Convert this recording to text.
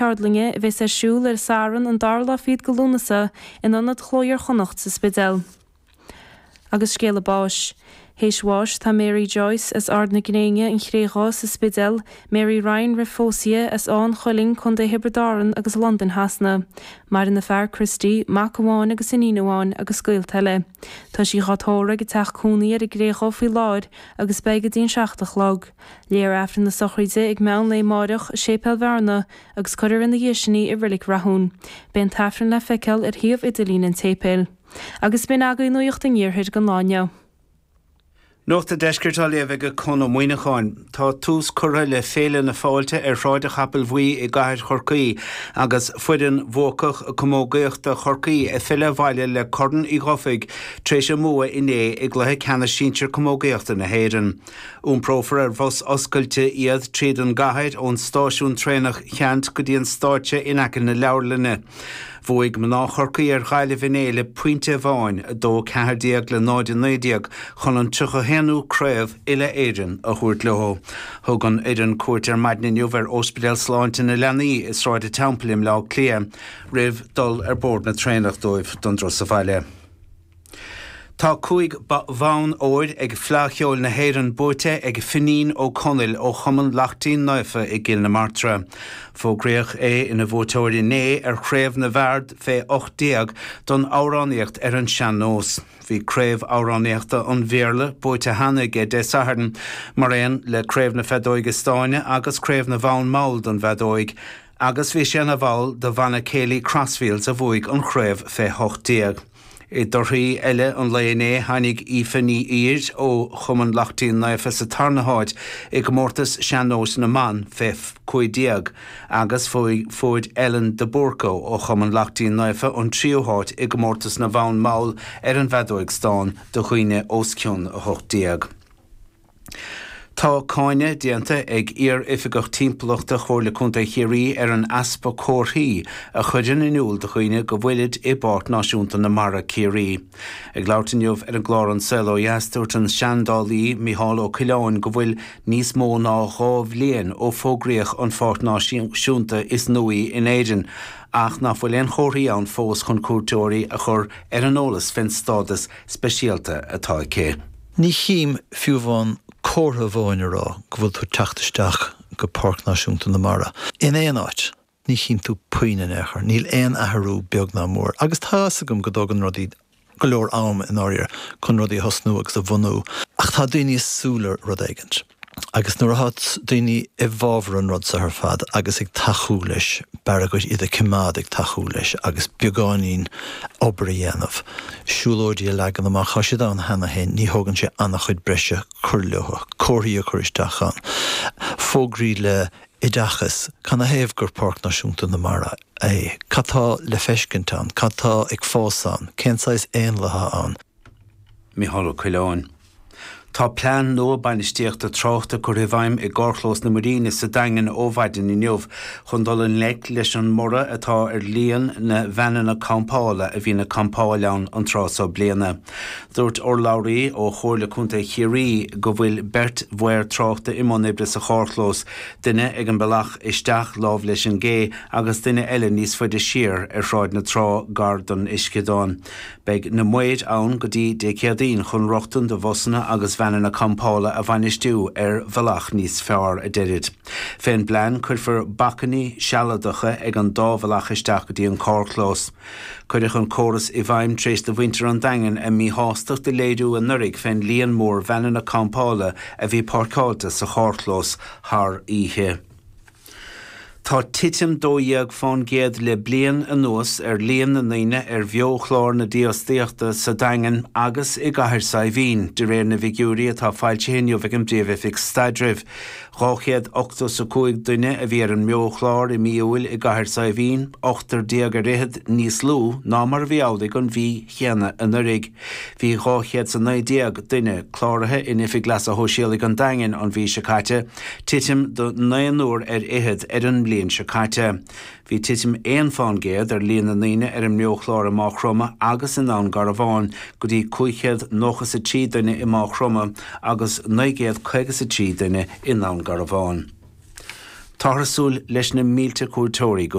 Ceardlainne a bheas ar siúl ar an Satharn an dara lá fichead de Lúnasa in Ionad Chló Iar-Chonnacht sa Spidéal. Agus scéala báis. Théis bháis tá Mary Joyce as Ard na Gréine, An Chré Dhubh sa Spidéal, Mary Ryan roimh phósadh as Áth an Chuilinn, Co. Thiobraid Árann agus Londain Shasana. Maireann a fear Christy, mac amháin agus iníon amháin agus gaolta eile. Tá sí dhá tórramh ag a teach cónaí ar an gCré Dhubh faoi láthair agus beidh go dtí an 7 a chlog. Léifear Aifreann na sochraide ag meán lae amáireach i Séipéal Bhearna agus cuirfear ina dhiaidh sin í i Reilig Rathún. Beidh an tAifreann le feiceáil ar shuíomh idirlín an tséipéil. Agus b'in agaibh Nuacht an Iarthair don lá inniu. Nuacht an Deiscirt á léamh ag Conn Ó Muíneacháin. Tá tús curtha le Féile na Fáilte ar Shráid an Chapaill Bhuí i gcathair Chorcaí agus foireann bhuacach camógaíochta Chorcaí ag filleadh abhaile le Corn Uí Dhufaigh tar éis a mbua inné i gcluiche ceannais sinsir camógaíochta na hÉireann. Iomprófar ar bhus oscailte iad tríd an gcathair ón stáisiún traenach Cheannt go dtí an stáitse in aice na leabharlainne. Bhuaigh mná Chorcaí ar Ghaillimh inné le pointe amháin, 2-14 le 0-19, chun an 31ú craobh uile-Éireann a thabhairt leo. Thug an fhoireann cuairt ar maidin inniu ar Ospidéal Sláinte na Leanaí i Sráid an Teampaill i mBleá Cliath roimh dul ar bord na traenach dóibh don dturas abhaile. Tá 5 bhonn óir ag Fleadh Cheoil na hÉireann buaite ag Finín Ó Conaill ó Chumann Lachtaín Naofa i gCill na Martra. Fógraíodh é ina bhuaiteoir inné ar chraobh na bhfear fé 18 don amhránaíocht ar an sean-nós. Bhí craobh amhránaíochta an Bhéarla buaite cheana aige Dé Sathairn, mar aon le craobh na feadóige stáin agus craobh na bhfonn mall don bhfeadóig. Agus bhí sé ina bhall de bhanna céilí Crossfields a bhuaigh an chraobh fé 18. I dtorthaí eile an lae inné tháinig Aoife Ní Ír ó Chumann Lachtaín Naofa sa tarna háit i gcomórtas sean-nóis na mban fé 15 agus fuair Ellen de Búrca ó Chumann Lachtaín Naofa an tríú háit i gcomórtas na bhfonn mall ar an bhfeadóig stáin do dhaoine os cionn 18. Tá cáineadh déanta ag iar-oifigeach timpeallachta Chomhairle Contae Chiarraí ar an easpa comharthaí a chuireann in iúl do dhaoine go bhfuilid i bPáirc Náisiúnta na Mara, Ciarraí. Ag labhairt inniu ar an gclár An Saol Ó Dheas, dúirt an seandálaí Micheál Ó Coileáin go bhfuil níos mó ná 2 bhliain ó fógraíodh an pháirc náisiúnta is nuaí in Éirinn ach nach bhfuil aon chomharthaí ann fós chun cuairteoirí a chur ar an eolas fén stádas speisialta atá aici. Ní chím fiú amháin comhartha amháin a rá go bhfuil tú ag teacht isteach go Páirc Náisiúnta na Mara. In aon áit, ní chím tú puinn in aon chor. Níl aon athrú beag ná mór. Agus tá fhios agam go dtógann rudaí go leor am i ndáiríre chun rudaí a thosnú agus a bhunú. Ach tá daoine ag súil le rud éigint. Agus nuair atá daoine i bhfabhar an rud seo ar fad agus ag tacú leis, b'fhearr dhuit iad a choimeád ag tacú leis agus beagáinín obair a dhéanamh, siúlóidí a leagan amach, tá siad ann cheana féin, ní thógann sé an-chuid breise cur leo, comharthaí a chur isteach ann, fógraí le oideachas, canathaobh gur Páirc Náisiúnta na Mara é, cad tá le feiscint ann, cad tá ag fás ann, cén saghas éanlaithe ann. Micheál Ó Coileáin. Tá plean nua bainistíochta tráchta curtha i bhfeidhm i gcarrchlós na Muiríne sa Daingean ó mhaidin inniu chun dul i ngleic leis an mborradh atá ar líon na veaineanna campála a bhíonn ag campáil ann an tráth seo bliana. Dúirt urlabhraí ó Chomhairle Contae Chiarraí go bhfuil beirt mhaor tráchta i mbun oibre sa charrchlós, duine ag an bealach isteach lámh leis an gcé agus duine eile níos faide siar ar Shráid na Trá gar don uisceadán. Beidh na maoir ann go dtí Dé Céadaoin chun rochtain do bhusanna agus veaineanna campála a bhainistiú ar bhealach níos fearr, a deirid. Fén bplean, cuirfear bacainní sealadacha ag an dá bhealach isteach go dtí an carrchlós. Cuireadh an córas i bhfeidhm tar éis do mhuintir an Daingin a míshástacht a léiriú anuraidh fén líon mór veaineanna campála a bhí páirceáilte sa charrchlós thar oíche. Tá titim 12% le bliain anuas ar líon na ndaoine ar bheo-chlár na dífhostaíochta sa Daingean agus i gCathair Saidhbhín, de réir na bhfigiúirí atá foilsithe inniu ag an bPríomh-Oifig Staidrimh. 285 duine a bhí ar an mbeo-chlár i mí Iúil i gCathair Saidhbhín, ochtar déag ar fhichead níos lú ná mar a bhí amhlaidh an mhí chéanna anuraidh. Bhí 219 duine cláraithe in Oifig Leasa Shóisialaigh an Daingin an mhí seo caite, titim de naonúr ar fhichead ar an mbliain seo caite. Bhí titim 1 fán gcéad ar líon na ndaoine ar an mbeochlár i Máigh Chromtha agus i nDún Garbhán, go dtí 593 duine i Máigh Chromtha agus 953 duine i nDún Garbhán. Táthar ag súil leis na mílte cuairteoirí go.